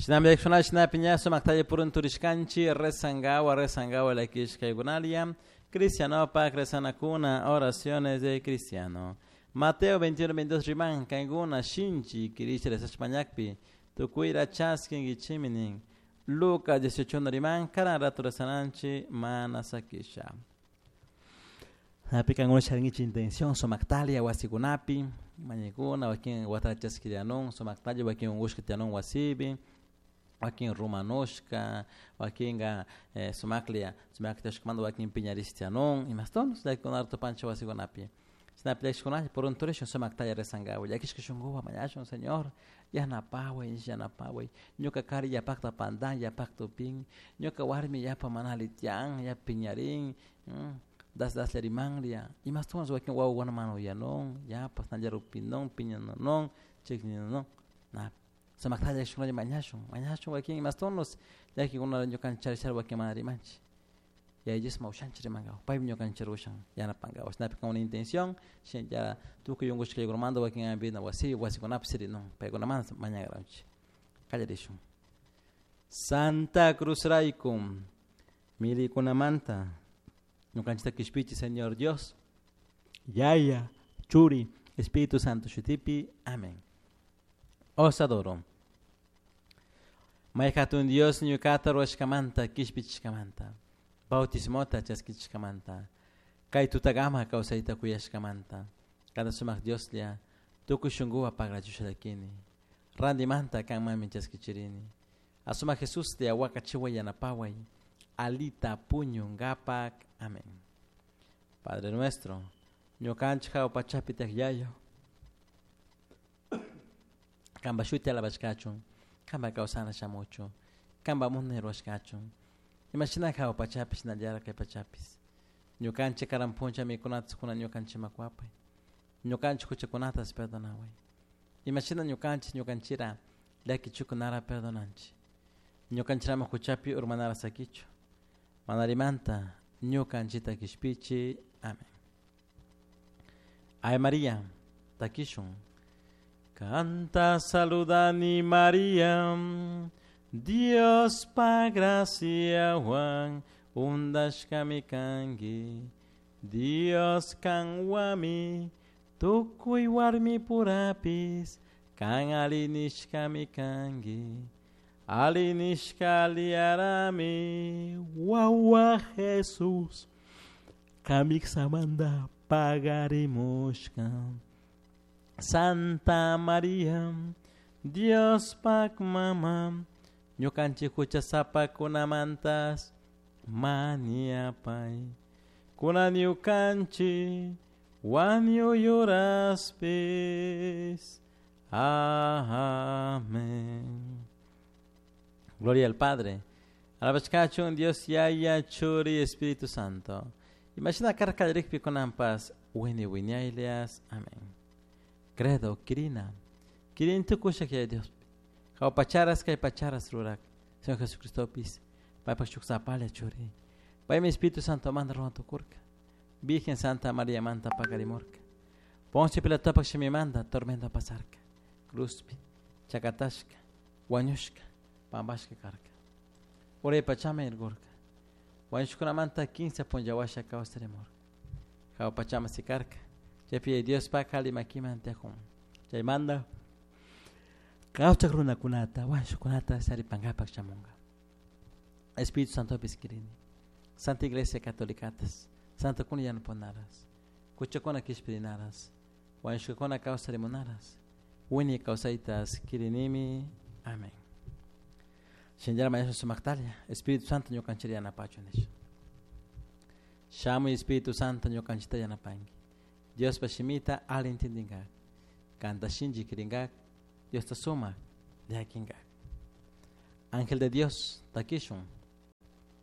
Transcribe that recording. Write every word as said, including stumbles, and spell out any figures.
Shinami shina piña sumaktalla purunturishkanchik rezangawa rezangawa llakishkaykunalia cristianopak rezanakuna oraciones de cristiano. Mateo veintiuno veintidós riman kankuna shinchi kirisha rezashpañakpi tukuyra chaskinkichikmi nin. Lucas dieciocho riman karan rato rezananchik mana sakisha. Napi kankuna charinkichik intención sumaktalia wasikunapi mañakuna wakin watara chaskirianun sumaktalla wakin unkushka tiyanun wasipi wakin rumanushka wakinka eh, sumaklia sumaktashkamanta wakin piñarish tiyanun imastonos llakikunata tupanchik wasikunapi. Shinapi llakishkunalla purunturishun sumaktalla rezankawa llakishka shunkuwan mañashun Señor yanapaway yanapaway ñuka kari yapakta pantan yapakta upin ñuka warmi yapa mana alli tiyan yapa piñarin das daslla rimanlla imastonas wakin wawakuna mana uyanun yapa ashnalla rupinun piñanunun chikninun na sumaktalla llakishkunalla mañashun mañashun wakin imastonos llakikuna ñukanchik charishara wakin mana rimanchik. Yaya Dios ushanchik rimankawa paymi ñukanchik ushan yanapankawa shinapi con una intención shinallara tukuy unkushkaykunamanta wakin hampina wasi wasikunapi sirinun paykunamanta mañakaranchik. Qallarishun. Santa Cruz rayku milikunamanta ñukanchikta kishpichi Señor Dios Yaya Churi Espíritu Santo shutipi. Amén. Os adoro. May hatun Dios ñukata ruwashkamanta kishpichishkamanta bautismota chaskichishkamanta kay tutagama kawsayta kuyashkamanta kada sumaq Dioslla tukuy shunkuwan pagrachushalakini rantimanta kanmanmi chaskichirini asumaq Jesuslla wakachiway yanapaway alita puñunkapak. Amén. Padre nuestro ñukanchik hawa pachapi tiyak Yayo kanpa shuti alabashkachun kanpa kawsana shamuchun kanpa munay ruwashkachun imashina hawa pachapi shinallara kay pachapis ñukanchik karan puncha mikunata kuna ñukanchikman kuwapay ñukanchik huchakunatas perdonaway imashina ñukanchik ñukanchira llakichukunara perdonanchik ñukanchirama huchapi urmanara sakichu manarimanta ñukanchikta kishpichi. Amén. Ave María, takishun. Canta saludani María, Dios pa gracia Juan, undashkami kanki, Dios kanwami, tukuy warmi purapis, kan alinishkami kanki, alinishka aliarami, wawa Jesús, kamiksamanta pagarimushka. Santa María, Dios pak mama, ñukanchik huchasapakunamantas maniapay, kunan ñukanchik wañuyuraspis. Amén. Gloria al Padre, alabashkachun Dios Yaya, Churi, Espíritu Santo. Imagina karkallarikpi kunanpas wini wiñaylias. Amén. Credo, kirina, kirin tukushak Yaya Dios. Hawa pacharas kay pacharas rurak. Señor Jesucristopis, paypak shuk sapalla churi. Paymi Espíritu Santo manta ruwan tukurka. Virgen Santa María manta pakarimurka. Poncio Pilatopak shimimanta tormento pasarka. Cruzpi, chakatashka, wañushka, pampashka karka. Uray pachama irgurka. Wañushkunamanta quince punllawasha kawsarimurka. Hawa pachama sikarka. Chaypi Diospak alli makiman tiyakun. Chaymanta kawchak runakunata wañushkunata saripankapak shamunka. Espíritu Santopis kirini. Santa Iglesia Católicatas, Santa kuna yanapunaras, kuchakuna kishpirinaras, wañushkakuna kawsarimunaras, wiñay kawsaytas kirinimi. Amén. Shinallara mañashun sumaktalla, Espíritu Santo ñukanchikta yanapachun nisha. Shamuy Espíritu Santo ñukanchikta yanapanki. Diospa shimita alli entendinkak, kanta shinchi kirinkak, Diosta sumak llakinkak. Ángel de Dios, takishun.